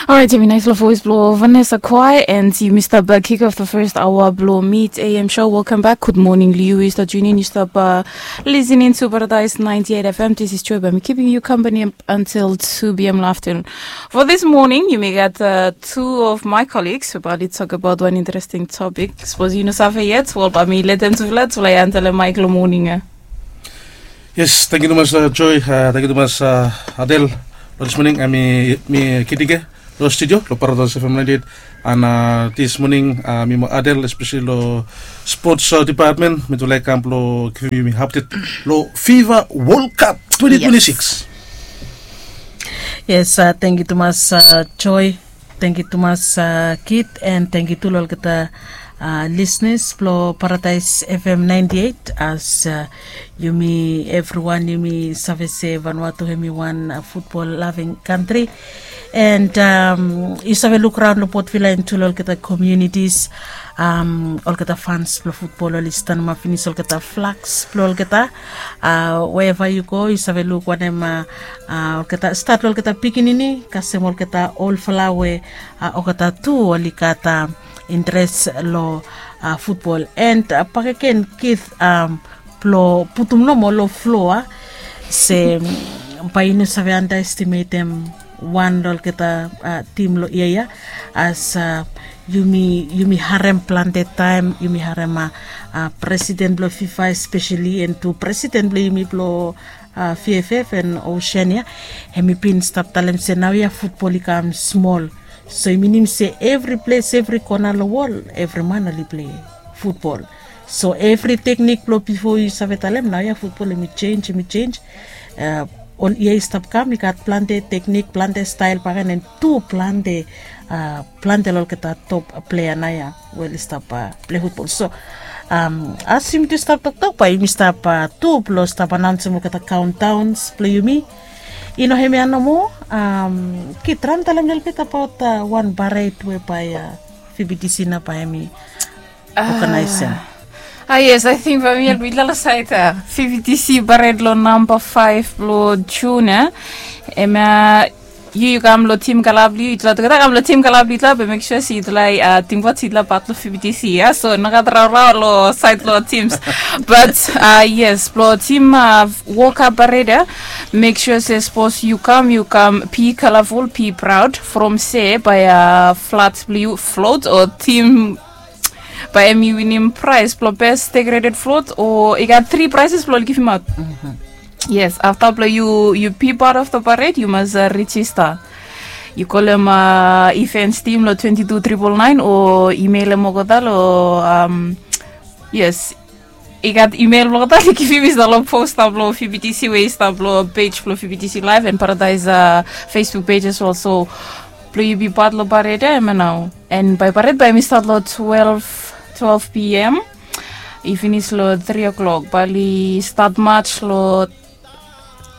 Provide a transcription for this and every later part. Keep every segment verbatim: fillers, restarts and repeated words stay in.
Alright, yumi nais long voice blong Vanessa Kwai, and yumi stap uh, kick off the first hour blong Meet A M show. Welcome back. Good morning, Liu. You start tuning, you stop uh, listening to Paradise ninety-eight F M. This is Joy by me, keeping you company up until two p m afternoon. For this morning, yumi gat uh, two of my colleagues about to talk about one interesting topic. Suppose you know save yet, well, by me, let them to let, like, until the mic lo morning. Uh. Yes, thank you tumas uh, Joy, uh, thank you tumas uh, Adel. Lo this morning, uh, mi, mi Kidige, lo studio, lo Paradise F M ninety-eight. And uh, this morning, uh, mi mo Adel, especially lo sports uh, department, mi tu laik kam lo giving mi update lo FIFA World Cup twenty twenty-six. Yes, uh, thank you tumas uh, Joy. Thank you tumas uh, Kit, and thank you tu lo olgeta uh, listeners blo Paradise F M ninety-eight. As uh, yumi everyone yumi save se Vanuatu hemi wan uh, football loving country, and um, yu save luk raun lo Port Vila and tu lo olgeta communities, um, olgeta fans blo football oli stanema finis olgeta flags blo olgeta. Uh, wherever you go, yu save luk wanem uh, uh, olgeta start lo olgeta pikinini kasem olgeta olfala we uh, olgeta tu oli gat uh, interes lo uh, football. And uh, bakegen Kit, um, blo putum nomo lo floa se um, bae yu no save underestimatem wan lo olgeta uh, tim lo ia ia. As uh, yumi yumi harem plante taem yumi harem uh, uh, president blo FIFA especially, and tu president blo yumi blo uh, F F F and Oceania, hemi bin stap talem se naoia futbol i kam smol. So i minim se evri ples, evri kona lo wol, evri man oli plei futbol. So evri teknik blo bifo yu save talem naoia futbol hemi jenj, hemi jenj. Uh, ol ia i stap kam i gat plante teknik, plante stael bakegen, and tu plante uh, plante lo olgeta top plea naoia we oli stap uh, plei futbol. So um, as yumi tu stap toktok bae yumi stap uh, tu blo stap anaonsem olgeta countdowns blo yumi. I no hemia nomo, um, Kit, ran talem lelebet abaot uh, wan parade we bae uh, V B T C nao bae hemi organizem. Ah, yes, I think bae mi help mitufala lo saed uh, V B T C parade lo namba five blo June. Eh? Hemia yu yu kam lo tim kala blo yu, yutufala olgeta kam lo tim kala blo yutufala, be make sure se yutufala uh, tingbaot se yutufala pat lo V B T C, ia. So nogat raorao lo saed lo tims. But uh, yes, blo tim uh, World Cup parade, make sure se sapos yu kam, yu kam be colorful, be proud. From se bae uh, flat blo yu float o tim bae hemi winim praes blo best decorated float, o i gat tri prizes blo oli givimaot. Yes, afta blo yu yu be part of the parade, yu mas uh, register. Yu kolem uh, events team lo twenty two triple nine o emailem olgeta lo um, yes, i gat email blo olgeta oli givim i stap lo posta blo V B T C we i stap lo page blo V B T C Live and Paradise uh, Facebook page as well. So blo yu be part lo parade ia hemia nao. And bae parade bae hemi stat lo twelve, twelve p.m. I finis lo three o'clock. Bae oli stat mats lo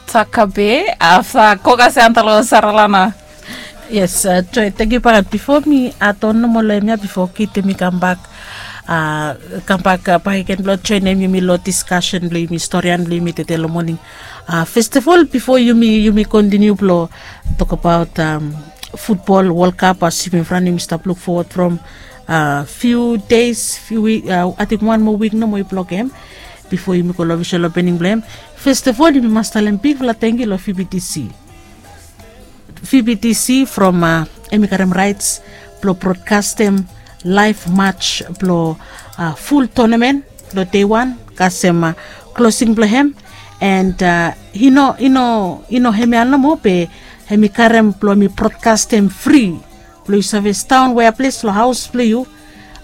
Takabe afta Kokase anta lo Saralana. Yes, uh, Joy, thank you bakegen. Bifo mi add on nomo lo hemia, bifo Kit hemi kambak, uh, kambak uh, bakegen blo joenem yumi lo discussion blo yumi, storian blo yumi tede lo moning. Uh, first of all, bifo yumi yumi continue blo tok abaot um, futbol World Cup, as yumi from yumi stap luk fowod from uh, few days, few week, uh, ating wan moa wik nomo i blok hem bifo yumi go lo ofisel opening blo hem. First of all, yumi mas talem bigfala tangkiu lo V B T C. V B T C from uh, hemi karem raets blo brodkastem laef mats blo uh, ful tonamen lo dei wan kasem uh, klosing blo hem. And uh, i no i no i no hemia nomo be hemi karem blo hemi brodkastem fri blo yu save staon wea ples lo haos blo yu.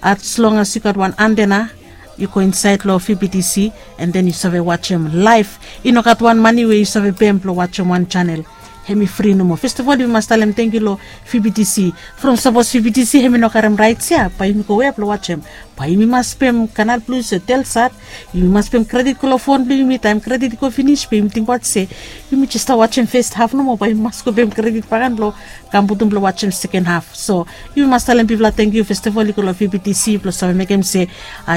As long as yu gat wan antena, yu go insaed lo V B T C and then yu save wajem laef. I no gat wan mane we yu save pem blo wajem wan janel. Hemi fri nomo. First of all, yumi mas talem tangkiu lo V B T C. From sapos V B T C hemi no karem raets ia, bae yumi go wea blo wajem? Bae yumi mas pem Canal Plus o Telsat. Yumi mas pem kredit go long fon blong yumi. Taem kredit i go finis bae yumi tingbaot se yumi jes stap wajem fes haf nomo, bae yumi mas go pem kredit bakegen blong kam putum blong wajem seken haf. So yumi mas talem bigfala tangkiu festival i go long V B T C blong save mekem se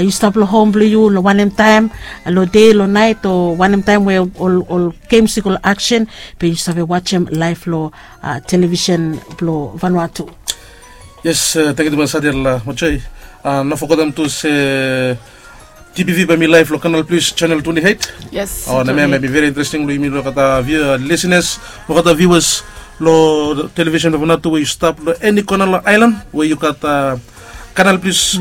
yu stap long hom blong yu long wanem taem, long dei, long naet, o wanem taem we ol gems i go long aksen, be yu save wajem laef long televisen blong Vanuatu. Yes, tangkiu tumas Adel Mojoi. No fogetem tu se T B V bae mi laef long Canal Plus channel twenty-eight. Yes. O, na hemia bae mi very interesting long yumi long olgeta view, listeners, olgeta viewers long televisen blong Vanuatu we yu stap long eni kona long aelan we yu gat Canal Plus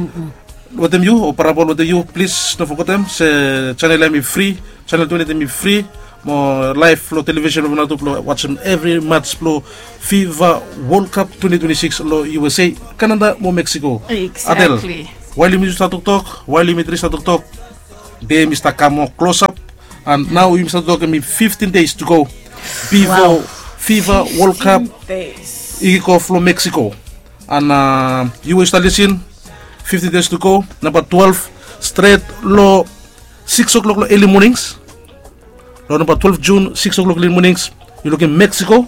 wetem yu o parabol wetem yu, plis no fogetem se channel ya hemi fri, channel twenty-eight hemi fri. Mo laef long televisen blong Vanuatu blong wajem evri mats blong FIFA World Cup twenty twenty-six long U S A, Canada mo Mexico. Adel, wael yumi stap toktok, wael yumi tri stap toktok, dei hemi stap kam moa klosap. And nao yumi stap tok hemi fifteen days to go bifo FIFA World Cup i kik of long Mexico. And yu we yu stap lisin, fifteen days to go, namba twelve, stret long six o'clock long eli monings. Long namba twelve June, six o'clock long eli monings, yu lukim Mexico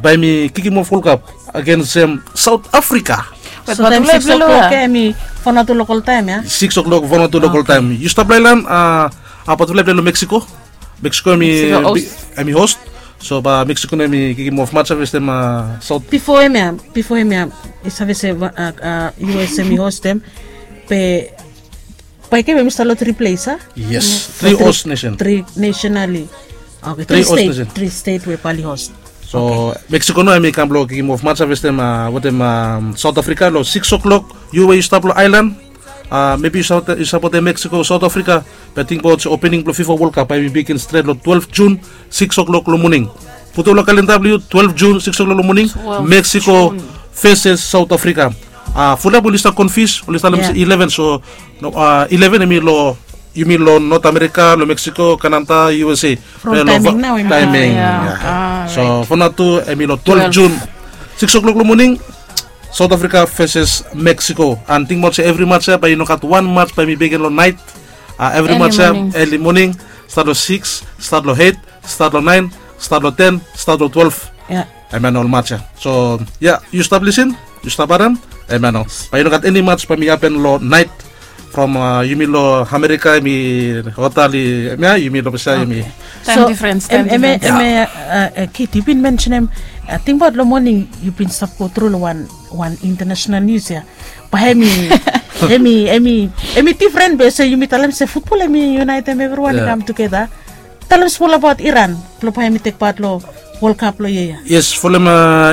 bae hemi kikim of World Cup against South Africa. So taem six o'clock ya hemi fo natu lokol taem ya. Six o'clock fo natu lokol taem. Yu stap long aelan, a bae tufala i plei long Mexico. Mexico hemi host. So bae Mexico nao hemi kikim of mats ya festem South. Bifo hemia, bifo hemia, yu save se U S hemi hostem. Be bae i kam hemi stap long tri ples, a? Yes, tri host nation. Tri nation ali. Oke, tri stet we bae oli host. So Mexico nao hemi kam blong kikim of mats ya festem wetem South Africa long six o'clock. Yu we yu stap long aelan, mebi yu sapotem Mexico, South Africa, be tingbaot se opening blong FIFA World Cup bae hemi bigin stret long twelve June, six o'clock long moning. Putum long kalenda blong yu, twelve June, six o'clock long moning, Mexico versus South Africa. Fulap oli stap konfius, oli stap talem se eleven, so eleven hemi long, yumi long North America, long Mexico, Canada, U S A. From taeming nao hemi taeming. So fo natu hemi long twelve June, six o'clock long moning, South Africa versus Mexico. And tingbaot se evri mats ya bae i no gat wan mats bae hemi bigin long naet. Evri mats ya eli moning, stat long six, stat long eight, stat long nine, stat long ten, stat long twelve. Hemia nao ol mats ya. So ya, yu stap lisin, yu stap harem, hemia nao. Bae i no gat eni mats bae hemi hapen long naet. From yumi long America hemi hot ali hemia, yumi long Pasia hemi. So hemia, Kit, yu bin mensenem, tingbaot long moning yu bin stap go tru long wan wan international nius ya. Bae hemi, hemi, hemi difren be se yumi talem se futbol hemi unaetem evriwan i kam tugeta. Talem smol abaot Iran blong bae hemi tek pat long World Cup long yia ya. Yes, folem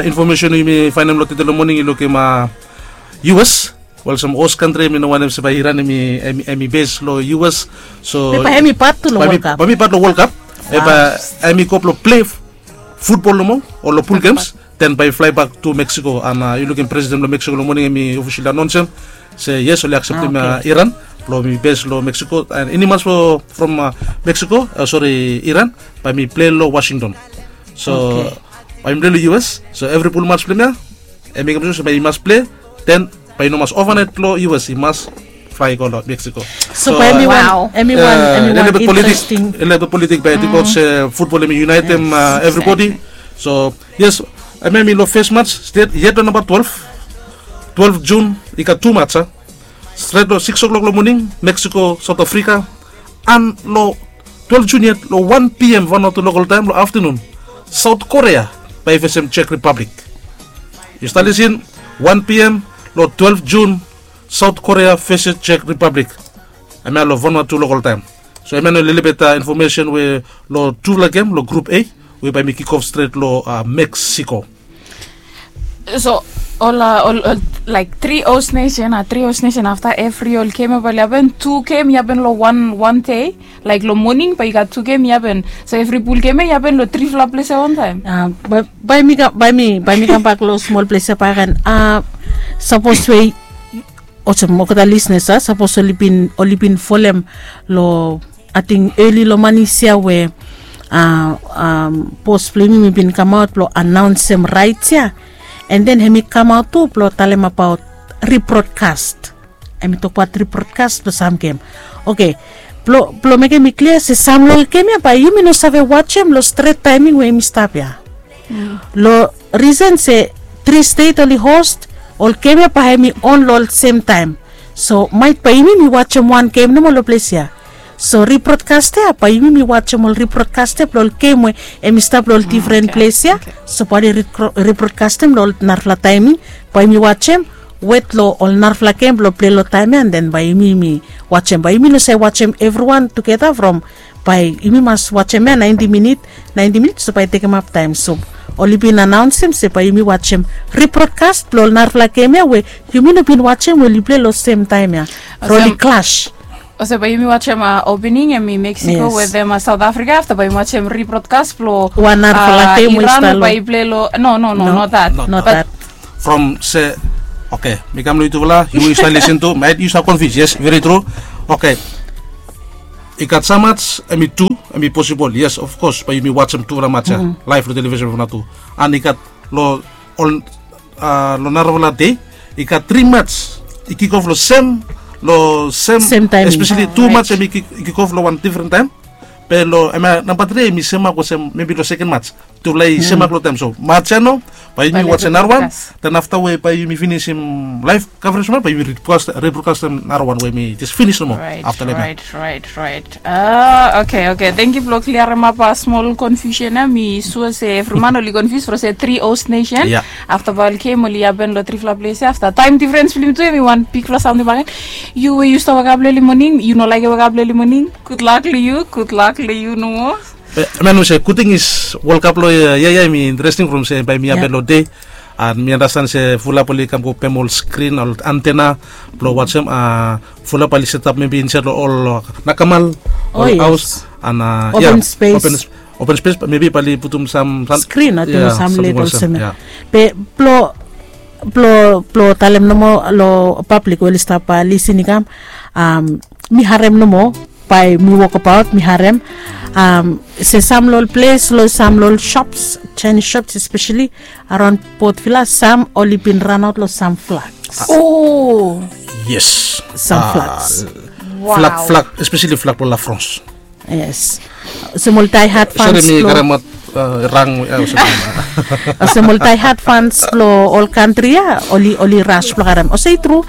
infomesen we yumi faenem long tede long moning, yu lukim U S. Wel, olsem host kantri, hemi no wantem se bae Iran hemi bes long U S. So bae hemi pat tu long World Cup. Bae hemi pat long World Cup. Bae hemi go blong plei futbol nomo o long pul gems, then bae i flaebak tu Mexico. And yu lukim presiden blong Mexico long moning hemi ofisali anaonsem se yes, oli akseptem Iran blong hemi bes long Mexico. And eni mats from Mexico, sori, Iran, bae hemi plei long Washington. So bae hemi plei long U S. So evri pul mats blong hemia, hemi mekem sua se bae i mas plei, then bae i no mas ovanaet long U S, i mas flae i go long Mexico. So bae hemi wan, hemi wan, hemi wan interesting. Lelebet politik bae i tingbaot se futbol hemi unaetem evribodi. So yes, hemia hemi long fes mats, stret yet long namba twelve, twelve June, i gat tu mats ya. Stret long six o'clock long moning, Mexico, South Africa. And long twelve June yet, long one P M Vanuatu lokol taem long aftenun, South Korea bae i fesem Czech Republic. Yu stap lisin, one P M long twelve June, South Korea fesem Czech Republic. Hemia long Vanuatu lokol taem. So hemia nao lelebet infomesen we long tufala gem long Group A we bae hemi kik of stret long Mexico. So ol, ol, ol, laek tri host nesen, a tri host nesen, afta evri ol gem ya bae oli hapen, tu gem i hapen long wan, wan dei. Laek long moning bae i gat tu gem i hapen. So evri pul gem ya i hapen long trifala ples ya wantaem. Bae, bae mi kam, bae mi, bae mi kambak long smol ples ya bakegen. Sapos we olsem olgeta lisenas, sapos oli bin, oli bin folem long, ating, eli long manis ya we bos blong yumi bin kamaot blong anaonsem raets ya. And then hemi kamaot tu blong talem abaot ribrodkas. Em i tokbaot ribrodkas blong sam gem. Oke, blong mekem i klia se sam long ol gem ya bae yumi no save wajem long stret taeming we em i stap ya. Long risen se tri stet oli host, ol gem ya bae em i on long ol sem taem. So maet bae yumi mi wajem wan gem nomo long ples ya. So ribrodkas ya bae yumi mi wajem ol ribrodkas ya blong ol gem we em i stap long ol difren ples ya. So bae oli ribrodkastem long ol narafala taeming, bae yumi wajem wet long ol narafala gem blong plei long taem ya, an den bae yumi mi wajem, bae yumi no save wajem evriwan tugeta from, bae yumi mas wajem ya naenti minit, naenti minit so bae i tekemap taem. So oli bin anaonsem se bae yumi wajem ribrodkas blong ol narafala gem ya we yumi no bin wajem we oli plei long sem taem ya, from oli klas. Olsem bae yumi wajem opening em i Mexico wetem South Africa, afta bae yumi wajem ribrodkas blong wan narafala gem we i stap long, bae i plei long, no, no, no, not that. From se, oke, mi kam long yutufala, yu we yu stap lisin tu, maet yu stap konfius, yes, veri tru. Oke, i gat sam mats em i tu, em i posibol, yes, of kos, bae yumi wajem tufala mats ya laef long televisen from nao tu. An i gat long ol, long narafala dei i gat tri mats i kikof long sem, long sem, espeseli tu mats em i kikof long wan difren taem. Be long em ya namba tri em i semak olsem mebi long seken mats, tufala i semak long taem. So mats ya nao bae yumi wajem narawan, den afta we bae yumi finisim laef kavrej nao bae yumi ribrodkastem narawan we mi jes finis nomo afta long em ya. Right, right. Oke, oke, tangkiu blong kliaremap smol konfiusen ya. Mi sua se evri man oli konfius from se tri host nesen. Afta bae ol gem oli hapen long trifala ples ya, afta taem difrens blong yumi tu em i wan bigfala samting bakegen. Yu we yu stap wokap long eli moning, yu no laekem wokap long eli moning, gudlak long yu, gudlak long yu nomo. Be man we se gudting is World Cup long yia ya em i interesting from se bae mi hapen long dei. An mi andastan se fulap oli kam go pem ol skrin, ol antena blong wajem. Fulap bae oli setap mebi insaed long ol nakamal, ol haos, an ya, open spes, mebi bae oli putum sam skrin, ating, o sam led olsem ya. Be blong, blong talem nomo long pablik we oli stap lisin i kam, mi harem nomo, bae mi wokbaot mi harem se sam long ol ples, long sam long ol shops, Chinese shops espeseli araon Port Vila, sam oli bin ranaot long sam flags. O yes. Sam flags. Flag, flag, espeseli flag blong La France. Yes. Olsem ol daehard fans blong, olsem ol daehard fans blong ol kantri ya oli, oli ras blong karem. Olsem i tru,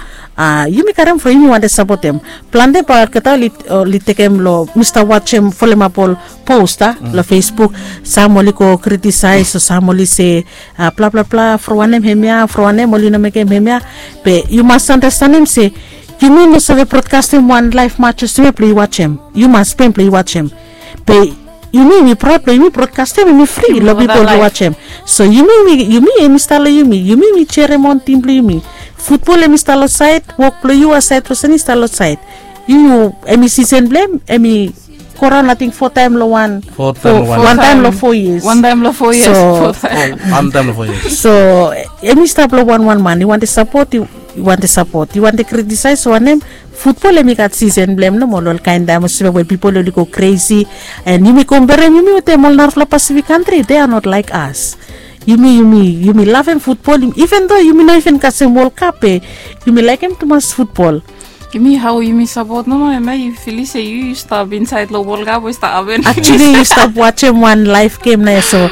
yumi karem from yumi wantem sapotem. Plante bae olgeta oli, oli tekem long, mi stap wajem, folemap ol post long Facebook. Sam oli go kritisaes o sam oli se, blabla bla, from wanem hemia, from wanem oli no mekem hemia. Be yu mas andastanem se yumi no save brodkastem wan laef mats olsem ya blong yu wajem. Yu mas pem blong yu wajem. Be yumi, yumi praod blong yumi brodkastem, yumi fri long pipol blong wajem. So yumi, yumi, yumi, yumi stap long yumi, yumi, yumi jerem on tim blong yumi. Futbol em i stap long saed, wok blong yu asaed olsem i stap long saed. Yu, em i sisen blong em, em i go raon ating fo taem long wan, fo taem long wan, wan taem long fo yias. Wan taem long fo yias. So wan taem long fo yias. So em i stap long wan, wan man i wantem sapot, i wantem sapot, i wantem kritisaes wanem. Futbol em i gat sisen blong em nomo long ol kaen taem olsem we pipol oli go kresi. An yumi komperem yumi wetem ol narafala Pasifik kantri, they are not like us. Yumi, yumi, yumi lavem futbol, iven do yumi no iven kasem World Cup be yumi laekem tumas futbol. Yumi, hao yumi sapot nomo, hemia yu filis se yu, yu stap insaed long World Cup we i stap hapen. Actually yu stap wajem wan laef gem nao ya. So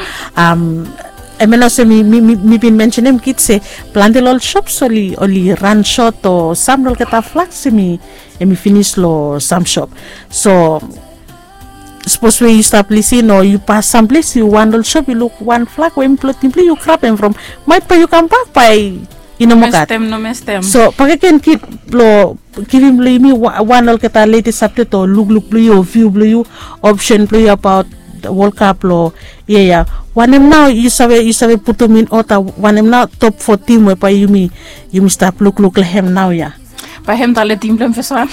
hemia nao se mi, mi, mi bin mensenem kit se plante long ol shops oli, oli ran sot o sam long olgeta flags em i, em i finis long sam shop. So sapos we yu stap lisin o yu pas samples, yu wan ol shop yu luk wan flag we em i blong tim blong yu, grabem from, maet bae yu kambak bae i no moa gat. So bakegen kit blong givim long yumi wan olgeta latest update o lukluk blong yu o view blong yu, option blong yu abaot World Cup long yia ya. Wanem nao yu save, yu save putum in order, wanem nao top fo tim we bae yumi, yumi stap lukluk long hem naoia? Bae hem tale tim blong hem fes wan.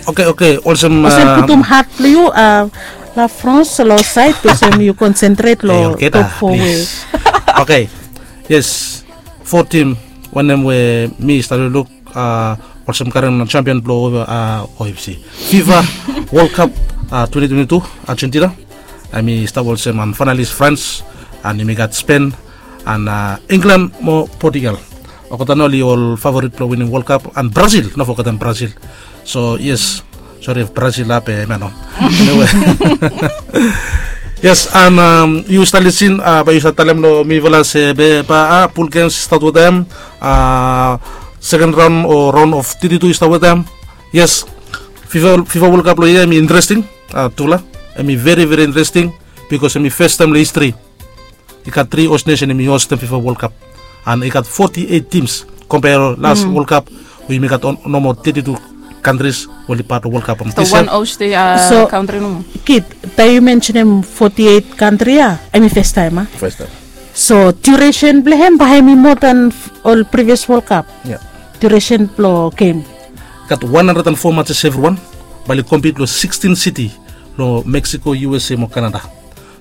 Oke, oke, olsem, olsem putum hat blong yu, La France long saed, olsem yu konsentret long top fo we. Oke. Yes. Fo tim wanem we mi stap lukluk, olsem karen champion blong O F C, FIFA World Cup twenty twenty-two, Argentina. Hemi stap olsem finalis France, an hemi gat Spain, an England mo Portugal. Olgeta nao oli ol favorit blong winim World Cup, and Brazil, no fogetem Brazil. So yes, sori, Brazil ap e mano. Anyway. Yes, and yu stap lisin, bae yu stap talem long mifala se be bae pul gems i stat wetem, seken raon o raon of teti tu i stat wetem. Yes, fifa World Cup long yia em i interesting. Tufala, em i veri veri interesting, bikos em i fes taem long histri i gat tri host nesen em i hostem fifa World Cup, and i gat foti eit tims, kompea long las World Cup we yumi gat nomo teti tu kantris we oli pat long World Cup. So wan host kantri nomo. Kit, taem yu mensenem foti eit kantri ya, em i fes taem a? So duresen blong hem bae hem i moa dan ol privios World Cup? Duresen blong gem? Gat wan handred and fo matses evriwan, bae oli kompit long sikstin siti long Meksiko, USA mo Kanada.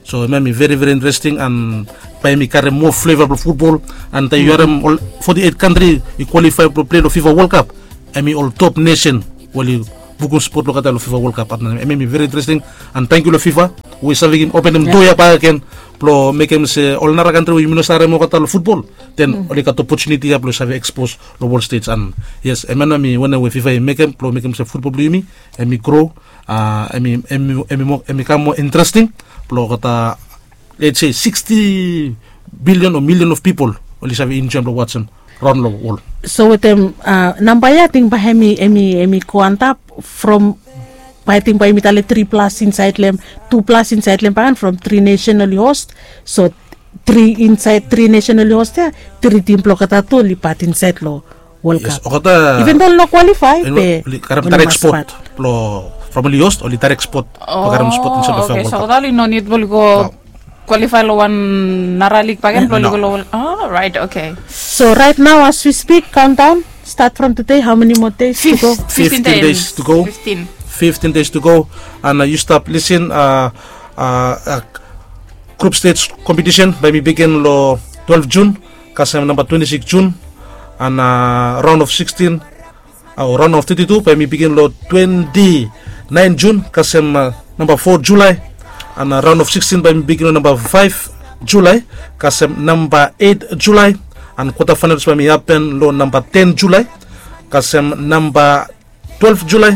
So em ya em i veri veri interesting, and bae em i karem moa fleva blong futbol. And taem yu harem ol foti eit kantri i kwalifae blong pilei long fifa World Cup, em i ol top nesen we oli bukum spot blong olgeta long fifa World Cup. And em ya em i veri interesting, and tangkiu long fifa we i save givim openem doa ya bakegen blong mekem se ol nara kantri we yumi no save harem olgeta long futbol, den oli gat opotuniti ya blong save ekspos long wol stej. And yes, em ya nao em i wanem we fifa i mekem blong mekem se futbol blong yumi em i gro, em i kam moa interesting blong olgeta, let's say, siksti bilion o milion of pipol oli save enjoem blong wasem raon long wol. So wetem namba ya ating bae em i go antap from, bae ating bae yumi talem tri plas insaed long hem, tu plas insaed long hem bakegen from tri nesen oli host. So tri insaed tri nesen oli host ya, tri tim blong olgeta tu oli pat insaed long World Cup. Even though oli no kwalifae be oli karem direct spot blong, from oli host oli direct spot blong karem spot insaed long World Cup. So olgeta oli no nid blong oli go kwalifae long wan nara lig bakegen blong oli go long World Cup. Right, okay. So right now as we speak, countdown start from today, how many more days to go? Fiftin days to go. Fiftin days to go. And yu stap lisin, grup stej kompetisen bae em i bigin long twelve Jun kasem namba twenti sikis Jun, and raon of sikstin o raon of teti tu bae em i bigin long twenti naen Jun kasem namba fo Julae, and raon of sikstin bae em i bigin long namba faef Julae kasem namba eit Julae, and kwata faenalis bae em i hapen long namba ten Julae kasem namba twelve Julae,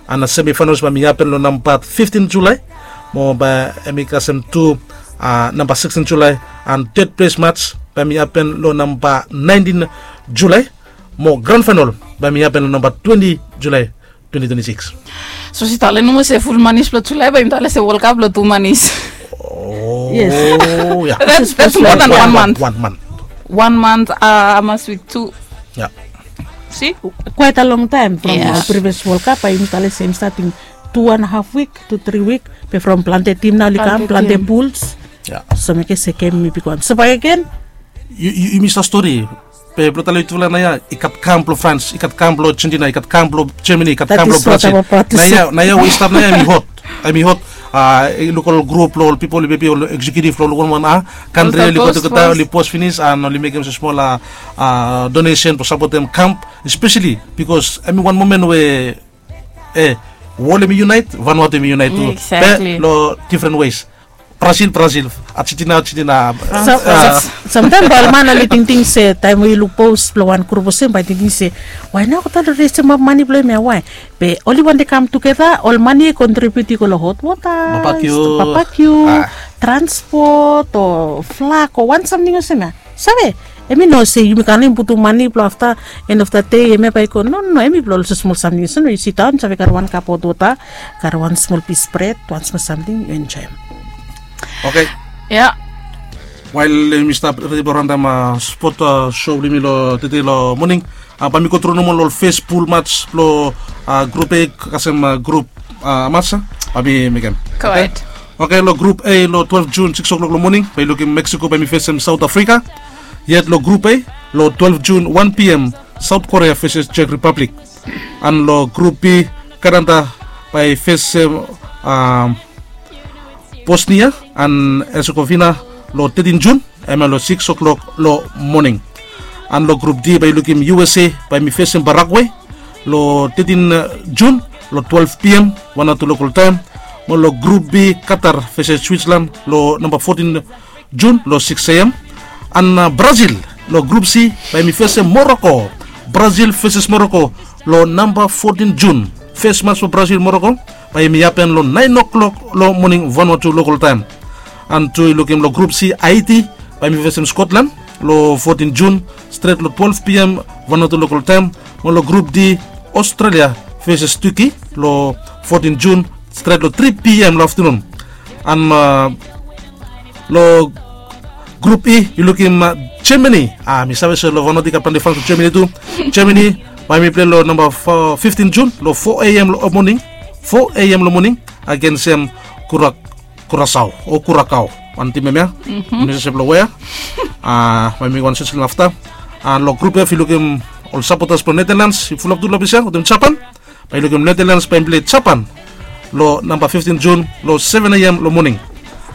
and semi faenalis bae em i hapen long namba fiftin Julae, mo bae em i kasem tu namba sikstin Julae, and ted ples mats bae em i hapen long namba naentin Julae, mo gran faenal bae em i hapen long namba twenti Julae twenti twenti sikis. So si talem nomo se ful manis blong Julae bae yumi talem se World Cup long tu manis. Yes. That's more than one month. One month. One month, hamas wik tu. Ya. Si? Quite a long time from ol previous World Cup, bae yumi talem se hem i stat tu wan haf wik tu tri wik, be from plante tim nao oli kam, plante puls. So mekem se gem hem i bigwan. So bakegen, yumi stap stori, be blong talem tufala naoia i gat kam blong Frans, i gat kam blong Argentina, i gat kam blong Germany, i gat kam blong Brazil. Naoia we i stap naoia hem i hot. Hem i hot. Yu luk ol grup blong ol pipol, maybe ol eksekiutiv blong ol wanwan kantri oli go tugeta, oli pos finis and oli mekem se smol donesen blong sapotem kam, espeseli bikos hem i wan momen we wol hem i yunaet, Vanuatu hem i yunaet tu. Be long difren wes. Brazil, Brazil, Argentina, Argentina. Samtaem bae ol man oli tingting se taem we yu luk pos blong wan grup olsem bae tingting se, wae nao olgeta oli resemap mane blong hem ya, wae? Be oli wantem kam tugeta, ol mane i kontribiut i go long hot wota, babakiu, transpot o flag o wan samting olsem ya. Save, hem i no se yumi kam long hem putum mane blong afta, en of da dei hem ya bae i go. No, no, hem i blong ol smol samting olsem we yu sidaon, save karem wan kap hot wota, karem wan smol pis bred, wan smol samting, yu enjoem. Oke. Ya. Wael yumi stap redi blong ranem spot sho blong yumi long tede long moning, bae mi go tru nomo long ol fes pul mats blong grup A kasem grup mats ya, bae mi mekem. Oke, long grup A long twelve Jun sikis o'clock long moning bae yu lukim Mexico bae hem i fesem South Africa. Yet long grup A long twelve Jun one p.m. South Korea feses Czech Republic. And long grup B, Canada bae i fesem Bosnia and Herzegovina long thirteen Jun, hemia long six o'clock long moning. And long grup D bae yu lukim U S A bae hem i fesem Paraguay long thirteen Jun long twelve p.m., wan o tu lokol taem. Mo long grup B, Qatar feses Switzerland long namba fourteen Jun long six a.m. And Brazil Long grup C bae yumi fesem Moroko. Brazil feses Moroko long namba fotin Jun. Fes mats blong Brazil Moroko bae yumi hapen long naen o'klok long moning Vanuatu lokol taem. An tu yu lukim long grup C, Haiti bae yumi fesem Skotlan long fotin Jun, stret long twelef P M Vanuatu lokol taem. Mo long grup D, Australia feses Tuki long fotin Jun, stret long tri P M long aftanun. An long grup E yu lukim Germany. A mi save se long Vanuatu i gat plante fans blong Germany tu. Germany bae yumi pilei long namba fiftin Jun long fo A M long moning, fo A M long moning, agensem Kurasao o Kurakao, wan tim em ya. Mi save se blong wea. Bae yumi go wan sesel afta. An long grup F yu lukim ol sapotas blong Netherlands i fulap tu long ples ya wetem Japan. Bae yu lukim Netherlands bae yumi pilei Japan long namba fiftin Jun long seven A M long moning.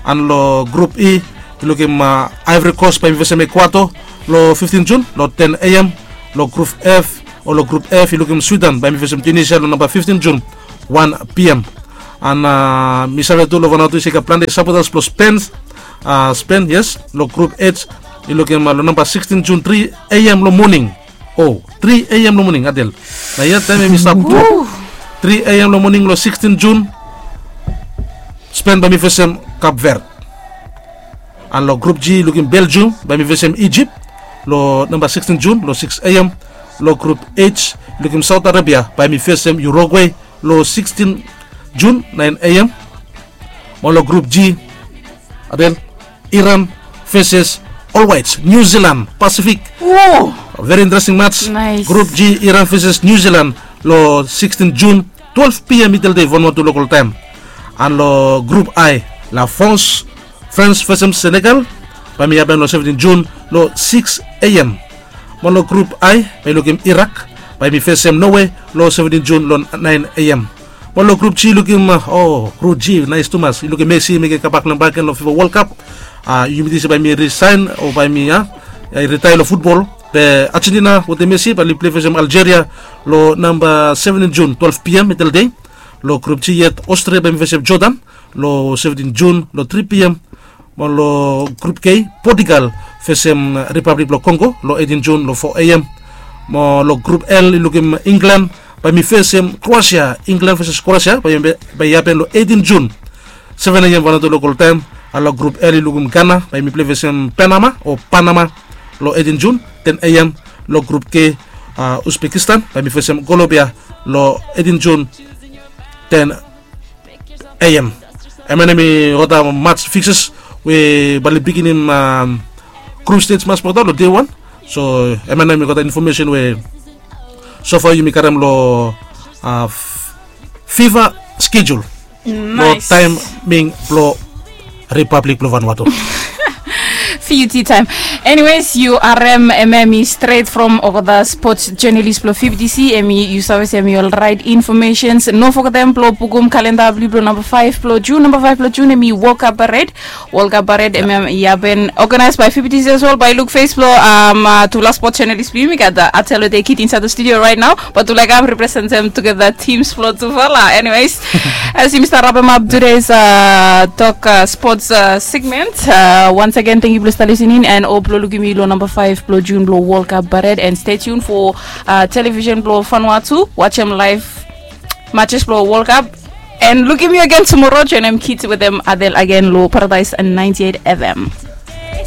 An long grup E yu lukim Ivory Coast bae yumi fesem Ecuador long fiftin Jun long ten A M. Long grup F o long grup F yu lukim Sweden bae yumi fesem Tunisia long namba fiftin Jun, wan P M. An mi save tu long Vanuatu i se i gat plante sapotas blong Spen. Spen, yes. Long grup H yu lukim long namba sixtin Jun, tri A M long moning. O tri A M long moning, Adel. Na ia taem em i stap tu. Tri A M long moning long sixtin Jun, Spen bae yumi fesem Cape Verde. An long grup G yu lukim Belgium bae yumi fesem Egypt long namba sixtin Jun long six A M. Long grup H yu lukim Saudi Arabia bae yumi fesem Uruguay long sixtin Jun, naen A M. Mo long grup G, Adel, Iran feses All Whites, New Zealand, Pacific. Veri interesting mats. Grup G, Iran feses New Zealand long sixtin Jun, twelef P M Mitel Dei Vanuatu lokol taem. An long grup I, La France, France fesem Senegal bae yumi hapen long seventin Jun long six A M. Mo long grup I bae yu lukim Irak bae yumi fesem Norway long seventin Jun long naen A M. Mo long grup G yu lukim, o grup G naes tumas, yu lukim Messi i mekem kambak blong hem bakegen long FIFA World Cup. Yumi ting se bae hem i risaen o bae hem i ritaea long futbol. Be Argentina wetem Messi bae oli pilei fesem Algeria long namba seventin Jun, twelef P M Mitel Dei. Long grup G yet, Austria bae hem i fesem Jordan long seventin Jun long tri P M. Mo long grup K, Portugal fesem Ripablik blong Kongo long eitin Jun long fo A M. Mo long grup L yu lukim Inglan bae hem i fesem Kroasia. Inglan feses Kroasia bae i hapen long eitin Jun, seven A M Vanuatu lokol taem. An long grup L yu lukim Gana bae hem i pilei fesem Panama o Panama long eitin Jun, ten A M. Long grup K, Uzbekistan bae hem i fesem Kolombia long eitin Jun, ten A M. Hemia nao hemi olgeta mats fikses we bae oli biginim grup stej mats blong olgeta long dei wan. So hemia nao hemi olgeta infomesen we sofa yumi karem long FIFA schedule long taeming blong Ripablik blong Vanuatu. Fiuti taem. Anyways, yu harem hemia hemi stret from olgeta spots jenalis blong F B T C, hemi yu save se hemi ol raet infomesens. No fogetem blong bukum kalenda blong yu blong namba faef blong Jun. Namba faef blong Jun hemi World Cup Parade. World Cup Parade hemia i hapen, organized by F B T C as well. Bae yu luk fes blong tufala spots jenalis blong yumi, gat Atel we de kit insaed long studio raet nao. But tufala i kam representem tugeta tims blong tufala. Anyways, as yumi stap rapem ap tudeis tok spots segment, once again tangkiu blong stap lisening and hop blong lukim yu long namba faef blong Jun blong World Cup Parade, and stay tuned for television blong Vanuatu, wajem laef matches blong World Cup, and lukim yu agen tumora. Joenem Kit wetem Adel agen long Paradise ninety-eight F M.